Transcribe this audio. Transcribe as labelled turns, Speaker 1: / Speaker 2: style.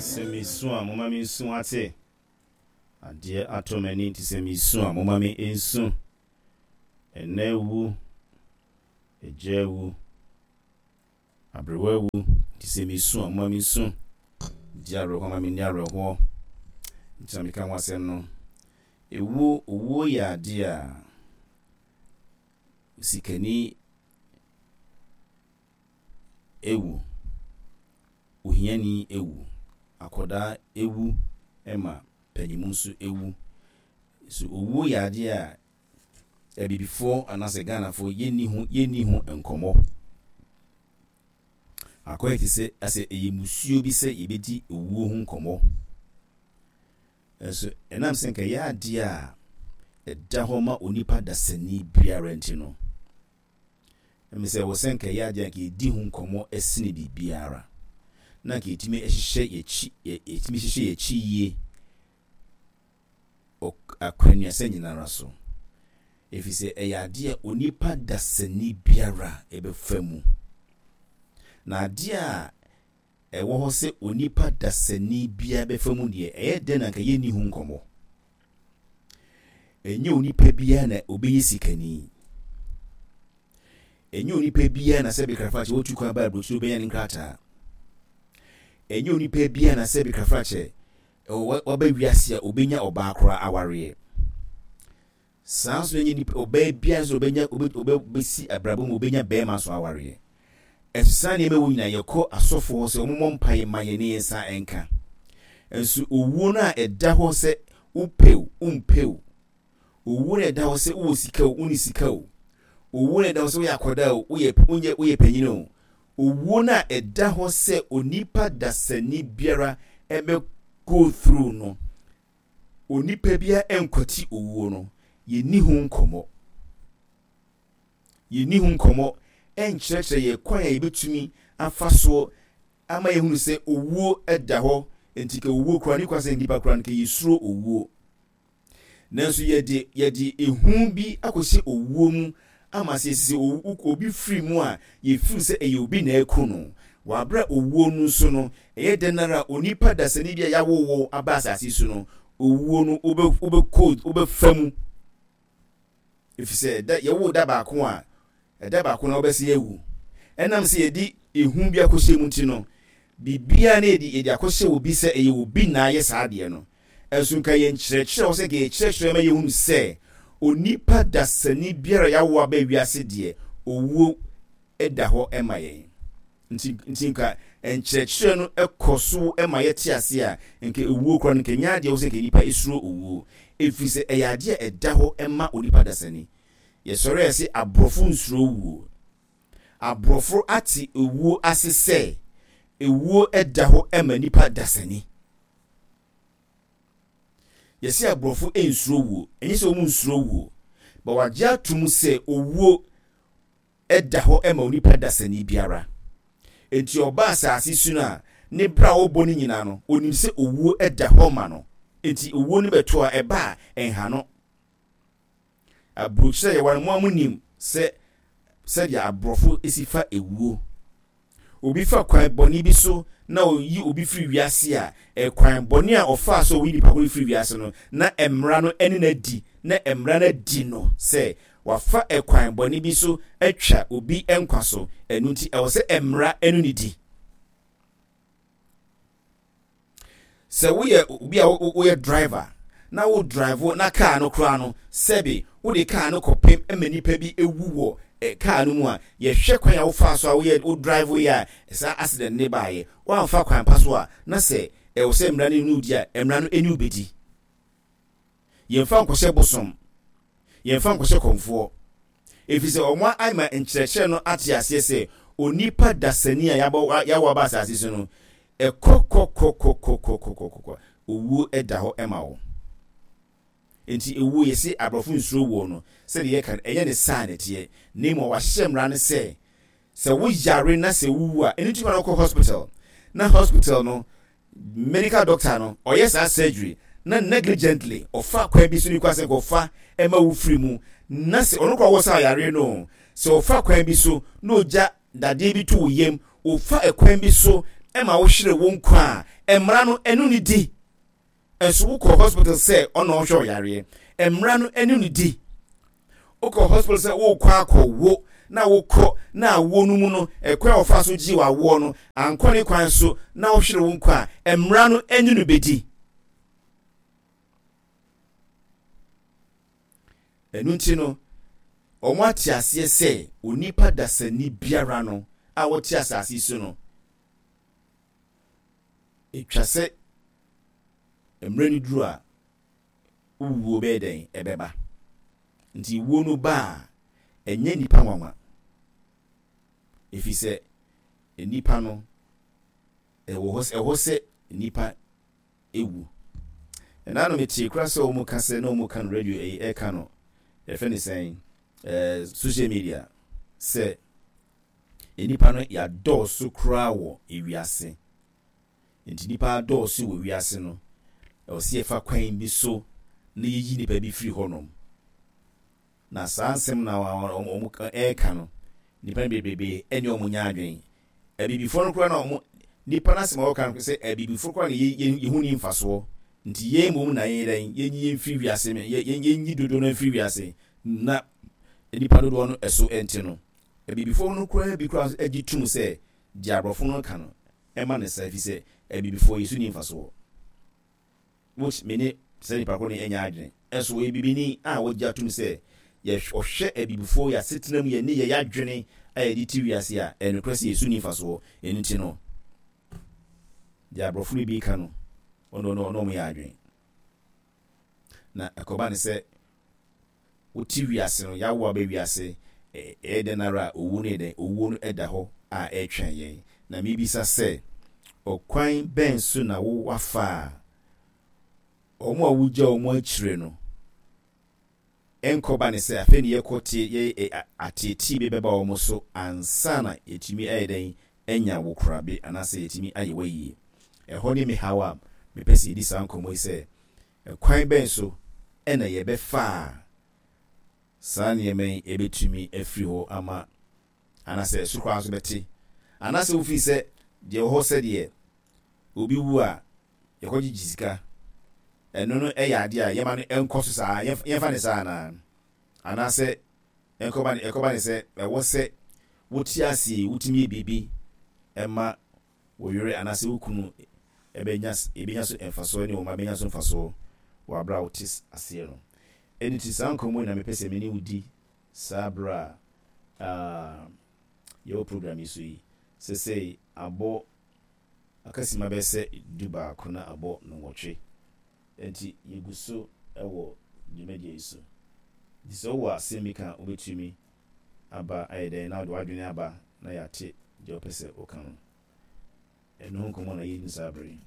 Speaker 1: Sɛ mesu a, momma mensu ate. Adeɛ atɔ m'ani nti sɛ mesu a, momma me nsu. Ɛna awu, agya awu, aberewa awu nti sɛ mesu a, momma mensu. Di awerɛhoɔ ma menni awerɛhoɔ. Nti na meka ho asɛm no. Ewuo, owuo yɛ adeɛ a sikani wu, ohiani wu, akwadaa wu ma panin nso wu. So owuo yɛ adeɛ a Abibifoɔ anaasɛ Ghanafoɔ yɛnni ho yɛnni ho nkɔmmɔ. Akɔyɛ te sɛ asɛ ɛyɛ musuo bi sɛ yɛbɛdi owuo ho nkɔmmɔ. Nanso ɛnam sɛ nka ɛyɛ adeɛ a ɛda hɔ ma onipa dasani biara nti no, ɛmi sɛ ɛwɔ sɛ nka ɛyɛ adeɛ a nka yɛdi ho nkɔmmɔ sene biribiara, na nka yɛtumi hyehyɛ yɛkyi yɛtumi hyehyɛ yɛkyi yie akwannuasa nyinara so, ɛfiri sɛ ɛyɛ adeɛ a onipa dasani biara ɛbɛfa mu. Na adeɛ a ɛwɔ hɔ sɛ onipa dasani biara bɛfa mu deɛ, ɛyɛ dɛn na anka yɛnni ho nkɔmmɔ? Ɛnyɛ onipa biara na ɔbɛyɛ sikani. Ɛnyɛ onipa biara na sɛ bekrafakyɛ wɔtu kwan ba aburokyire ɔbɛnya ne nkrataa. Ɛnyɛ onipa biara na sɛ bekrafakyɛ waba wiase a ɔbɛnya ɔbaa koraa awareɛ. Saa nso na ɛnyɛ nipa ɔbaa biara nso ɔbɛnya ɔbɛsi abrabɔ mu ɔbɛnya bɛrima nso awareɛ. Ɛnso saa nneɛma wɔ nyinaa yɛkɔ asɔfoɔ hɔ sɛ wɔmmɔ mpaeɛ ma yɛn ne yɛn nsa nka. Nso owuo no a ɛda hɔ sɛ wopɛ o wompɛ o, owuo no a ɛda hɔ sɛ wowɔ sika o wonni sika o, owuo no a ɛda hɔ sɛ woyɛ akwadaa o woyɛ wonyɛ woyɛ panyin o, owuo no a ɛda hɔ sɛ onipa dasani biara ɛbɛ go through no, Onipa biara nkwati owuo no, yɛnni ho nkɔmmɔ. Yɛnni ho nkɔmmɔ nkyerɛkyerɛ yɛn kwan a yɛbɛtumi afa soɔ ama yɛhunu sɛ owuo da hɔ, nti ka owuo koraa ne kwa sɛ nnipa koraa no ka yɛsuro owuo. Nanso yɛde yɛde ehu bi akɔhyɛ owuo mu ama sɛ yɛsi sɛ obi firi mu a, yɛfiri sɛ ɛyɛ obi na aku no. Wɔ aberɛ a owuo no nso no, ɛyɛ dɛn ara a onipa dasani bi a yɛawo wo aba asase so no, owuo no wobɛ wobɛkɔ wobɛfa mu. Ɛfiri sɛ da yɛwo da baako a, ɛda baako na wobɛsan awu. Ɛnam sɛ yɛde ehu bi akɔhyɛ mu nti no, biribiara na yɛde yɛde akɔhyɛ obi sɛ ɛyɛ obi na ayɛ saa adeɛ no. Nso nka yɛn nkyerɛkyerɛ wɔ sɛ nka yɛkyerɛkyerɛ ma yɛhunu sɛ onipa dasani biara a yɛawo aba wiase deɛ owuo da hɔ ma yɛn. Nti nti nka nkyerɛkyerɛ no kɔ so ma yɛte ase a, nka owuo koraa no nka ɛnyɛ adeɛ wɔ sɛ nka nipa suro owuo. Ɛfiri sɛ ɛyɛ adeɛ a ɛda hɔ ma onipa dasani. Yɛsɔre a yɛse aborɔfo nsuro owuo. Aborɔfo ate owuo ase sɛ owuo da hɔ ma nipa dasani. Yɛse aborɔfo nsuro wuo, ɛnyɛ sɛ wɔn nsuro wuo, but wɔagye ato mu sɛ owuo da hɔ ma onipa dasani biara. Enti ɔba asase so no a, ne bra a ɔbɔ no nyinaa no, onim sɛ owuo da hɔ ma no. Enti owuo no bɛto a, ɛba a, ɛnha no. Aburokyerɛ yɛwɔ no, mo a monim sɛ sɛdeɛ aborɔfo si fa ewuo. Obi fa kwan bɔne bi so na ɔyi obi firi wiase a, ɛkwan bɔne a ɔfaa so a ɔyi nipa ko no firi wiase no, na mmara no ne no adi, na mmara no adi no sɛ wafa ɛkwan bɔne bi so atwa obi nkwa so, ɛno nti ɛwɔ sɛ mmara ne no di. Sɛ woyɛ obi a woyɛ driver na wo drive na kaa no koraa no, sɛbe wode kaa no kɔpem ma nipa bi ewu wɔ eh, kaa no mu a, yɛhwɛ kwan a wofaa so a woyɛ wo drive yɛ a saa accident ne baayɛ. Woamfa kwan pa so a, na sɛ ɛwɔ sɛ mmara no ne wo di a, mmara no ne wo bedi. Yɛmfa nkɔhyɛ bosom, yɛmfa nkɔhyɛ kɔmfoɔ. Ɛfiri sɛ wɔn ama nkyerɛkyerɛ no ate aseɛ sɛ onipa dasani a yɛabɔ yɛawo aba asase so no, ɛkɔ kɔ kɔ kɔ kɔ kɔ kɔ kɔ kɔ owuo da hɔ ma wo. Enti ewuo yɛse aborɔfo nsuro wuo no, sɛdeɛ yɛka no ɛnyɛ ne saa na ɛteɛ, na mmom wɔahyehyɛ mmara no sɛ sɛ wo yare na sɛ wowu a, ɛno nti ma no kɔ hospital na hospital no Medical doctor no ɔyɛ saa surgery na negligently ɔfa kwan bi so ne kwan sɛ nka ɔfa ɛma wo firi mu na sɛ ɔno koraa ɔwɔ saa yareɛ no o sɛ ɔfa kwan bi so na ɔgya dadeɛ bi to wo yam ɔfa ɛkwan bi so ɛma wo hwere wo nkwa a Mmara no ɛne no di. Nso wokɔ hospital sɛ ɔna ɔhwɛ ɔyareɛ. Mmara no ɛne no di. Wokɔ hospital sɛ wokɔ akɔwo na wokɔ na awoɔ no mu no ɛkwan a wɔfa so gye w'awoɔ no ankɔ ne kwan so na wohwere wo nkwa a, mmara no ɛne no bɛdi. Ɛno nti no, wɔate aseɛ sɛ onipa dasani biara no a ɔte asase yi so no, ɛtwa sɛ mmerɛ no duru a, wuo bɛyɛ dɛn? Ɛbɛba. Nti wuo no ba a, ɛnyɛ nnipa nwanwa. Ɛfiri sɛ nnipa no, ɛwɔ hɔ sɛ nnipa wu. Ɛna no metee koraa sɛ wɔn ka sɛ na wɔn ka no radio ɛyi ɛka no yɛfrɛ no sɛn ɛɛ social media sɛ nnipa no yɛadɔɔso koraa wɔ ewiase nti nnipa adɔɔso wɔ wiase no ɛwɔ sɛ yɛfa kwan bi so na yɛyi nnipa bi firi hɔnom. Na saa nsɛm na wɔn ɛreka no, nnipa no bebrebe ɛne wɔn nyɛ adwene. Abibifoɔ no koraa na wɔn, nnipa no asɛm a wɔka no sɛ abibifoɔ koraa na yɛ ho ni mfasoɔ. Nti yɛn mmom na yɛn dɛn, yɛnyi yɛn mfiri wiase, yɛnyi dodoɔ no mfiri wiase na nnipa dodoɔ no ɛso ɛnte no. Abibifoɔ no koraa bi koraa gye tom sɛ deɛ aborɔfo no ka no ɛma no saa ɛfiri sɛ abibifoɔ yɛ so ni mfasoɔ. Which me ne saa nipa korɔ no nyɛ adwene. Nso ɔyɛ bibini a wagye atom sɛ yɛ ɔhwɛ abibifoɔ yɛ asetena mu yɛ nneyɛɛ yɛ adwene a yɛde te wiase a, ɛyɛ nokorɛ sɛ yɛ so nni mfasoɔ. Ɛno nti no, deɛ aborɔfo no bi ka no, ɔno ɔno ɔne wɔn yɛ adwene. Na ɛkɔba ne sɛ Wote wiase no, yɛawo aba wiase, ɛyɛ dɛn ara a, owu no yɛ dɛn? Owuo no da hɔ a ɛretwɛn yɛn. Na mebisa sɛ, ɔkwan bɛn so na wo woafa a wɔn a wogya wɔn akyire no ɛnkɔba ne sɛ afei ne yɛkɔ te yɛ ateetee bi bɛba wɔn so ansa na yɛtumi ayɛ dɛn anya wo korabe anaasɛ yɛtumi ayɛ w'ayie? Ɛhɔ ne me haw a mepɛ sɛ yɛdi saa nkɔmmɔ yi sɛ Ɛkwan bɛn so na yɛbɛfa a saa nneɛma yi bɛtumi afiri hɔ ama, anaasɛ ɛso koraa nso bɛte? Anaasɛ wofii sɛ deɛ ɛwɔ hɔ sɛdeɛ obi wu a yɛkɔgyegye sika, ɛno no yɛ adeɛ a yɛma no nkɔ so saa, yɛmfa ne saa anaa? Anaasɛ ɛnkɔba ne, ɛkɔba ne sɛ ɛwɔ sɛ wote aseɛ yi wotumi yɛ biribi ma wo yere anaasɛ wo kunu bɛnya bɛnya so mfasoɔ ne wo mma bɛnya so mfasoɔ wɔ aberɛ a wote aseɛ no. Ɛno nti saa nkɔmmɔ yi na mepɛ sɛ me ne wo di saa berɛ a yɛwɔ program yi so yi. Sesei abɔ akasima bɛyɛ sɛ dubaako na abɔ nnɔnwɔtwe. Ɛnti yɛgu so wɔ dwumadie yi so. Nti sɛ wowɔ asɛm bi ka a wobɛtumi aba ayɛ dɛn na wode w'adwene aba na yɛate deɛ wopɛ sɛ woka no. Ɛno ho nkɔmmɔ na yɛredi no saa berɛ yi.